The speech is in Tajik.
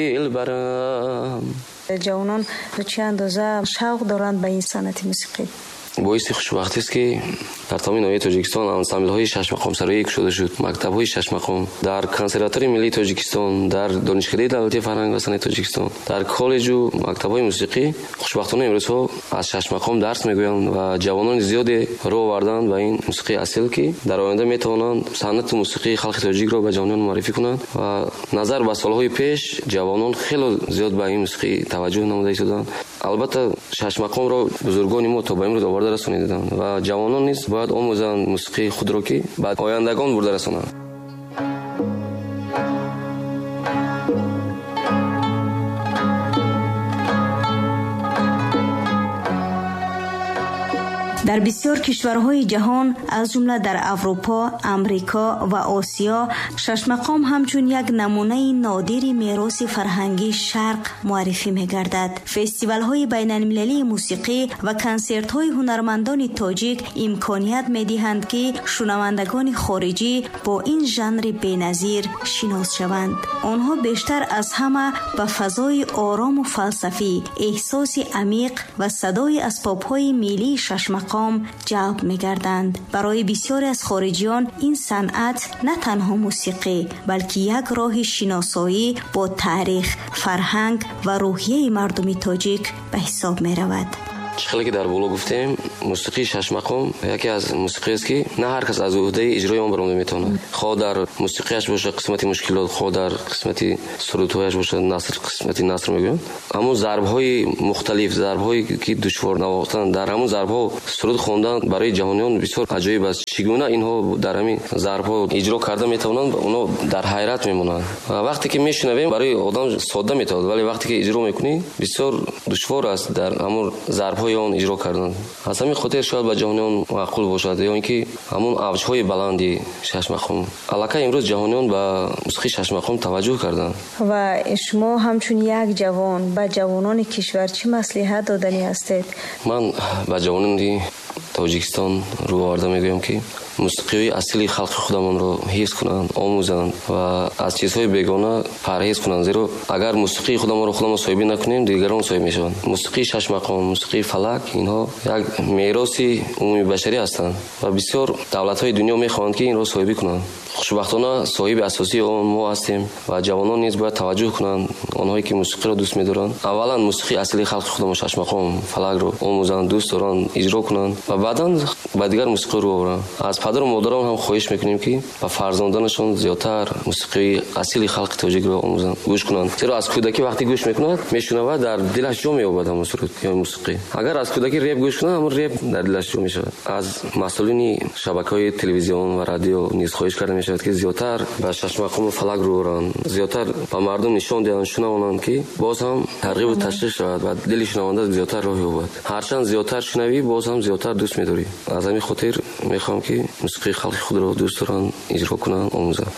Дилбарам. Ҷавонон то чӣ андоза шавқ доранд ба ин санъати мусиқӣ? Боиси хушбахтист, ки дар тамоми ноҳияи Тоҷикистон ансамблҳои шашмақомсароӣ кушода шуд, мактабҳои шашмақом дар Консерваторияи миллии Тоҷикистон, дар Донишкадаи давлатии фарҳанг ва санъати Тоҷикистон, дар коллеҷу мактабҳои мусиқӣ хушбахтона имрӯзҳо аз шашмақом дарс мегӯянд ва ҷавонони зиёде рӯ оварданд ба ин мусиқии асил, ки дар оянда метавонанд санъату мусиқии халқи тоҷикро ба ҷавониён муаррифӣ кунанд. Ва назар ба солҳои пеш ҷавонон хело зиёд ба ин мусиқӣ таваҷҷӯҳ намуда истоданд. Албатта, шашмақомро бузургони мо то ба имрӯз оварда расониданд ва ҷавонон низ бояд омӯзанд мусиқии худро, ки ба ояндагон бурда расонанд. Дар бисёр кишварҳои ҷаҳон, аз ҷумла дар Аврупо, Амрико ва Осиё, шашмақом ҳамчун як намунаи нодири мероси фарҳангии Шарқ муаррифӣ мегардад. Фестивалҳои байналмилалии мусиқӣ ва консертҳои ҳунармандони тоҷик имконият медиҳанд, ки шунавандагони хориҷӣ бо ин жанри беназир шинос шаванд. Онҳо бештар аз ҳама ба фазои орому фалсафӣ, эҳсоси амиқ ва садои асбобҳои миллии шашмақом ҷалб мегарданд. Барои бисёре аз хориҷиён ин санъат на танҳо мусиқӣ, балки як роҳи шиносоӣ бо таърих, фарҳанг ва рӯҳияи мардуми тоҷик ба ҳисоб меравад. Чӣ хеле ки дар боло гуфтем, мусиқии шашмақом яке аз мусиқиест, ки на ҳар кас аз уҳдаи иҷрои он баромада метавонад. Хоҳ дар мусиқиаш бошад қисмати мушкилот, хоҳ дар қисмати сурудҳояш бошад наср, қисмати наср мегӯянд. Ҳамун зарбҳои мухталиф, зарбҳое ки душвор навохтан, дар ҳамун зарбҳо суруд хондан барои ҷаҳониён бисёр аҷоиб аст. Чӣ гуна инҳо дар ҳамин зарбҳо иҷро карда метавонанд, онҳо дар ҳайрат мемонанд. Ва вақте ки мешунавем, барои одам содда метавонад, вале вақте ки иҷро мекунӣ, бисёр душвор аст дар ҳамун зарбҳои он иҷро кардан. Аз ҳамин хотир шояд ба ҷаҳониён маъқул бошад, ё ин ки ҳамун авҷҳои баланди шашмақом. Аллакай имрӯз ҷаҳониён ба мусиқии шашмақом таваҷҷӯҳ карданд. Ва шумо ҳамчун як ҷавон ба ҷавонони кишвар чӣ маслиҳат доданӣ ҳастед? Ман ба ҷавонони Тоҷикистон рӯ оварда мегӯям, ки мусиқиҳои асили халқи худамонро ҳифз кунанд, омӯзанд ва аз чизҳои бегона парҳез кунанд, зеро агар мусиқии худамонро худамон соҳибӣ накунем, дигарон соҳиб мешаванд. Мусиқии шашмақом, мусиқии фалак, инҳо як мероси умумибашарӣ ҳастанд ва бисёр давлатҳои дунё мехоҳанд, ки инро соҳибӣ кунанд. Хушбахтона, соҳиби асосии он мо ҳастем ва ҷавонон низ бояд таваҷҷӯҳ кунанд. Онҳое ки мусиқиро дӯст медоранд, аввалан мусиқии аслии халқи худамон, шашмақом, фалакро омӯзанд, дӯст доранд, иҷро кунанд ва баъдан ба дигар мусиқӣ рӯ оваранд. Аз падару модарон ҳам хоҳиш мекунем, ки ба фарзандонашон зиёдтар мусиқии асили халқи тоҷикро омӯзанд, гӯш кунанд, зеро аз кӯдакӣ вақте гӯш мекунад, мешунавад, дар дилаш ҷо меёбад ҳамон суруд ё мусиқӣ. Агар аз кӯдакӣ реп гӯш кунад, ҳамон реп дар дилаш ҷо мешавад. Аз масъулини шабакаҳои телевизион ва радио низ хоҳиш карда мешавад, ки зиёдтар ба шашмақому фалак рӯ оранд, зиёдтар ба мардум нишон диҳанд, шунавонанд, ки боз ҳам тарғибу ташвиқ шавад ва дили шунаванда зиёдтар роҳ ёбад. Ҳарчанд зиёдтар шунавӣ, боз ҳам зиёдтар дӯст медорӣ. Аз ҳамин хотир мехоҳам, ки мусиқии халқи худро дӯст доранд, иҷро кунанд, омӯзанд.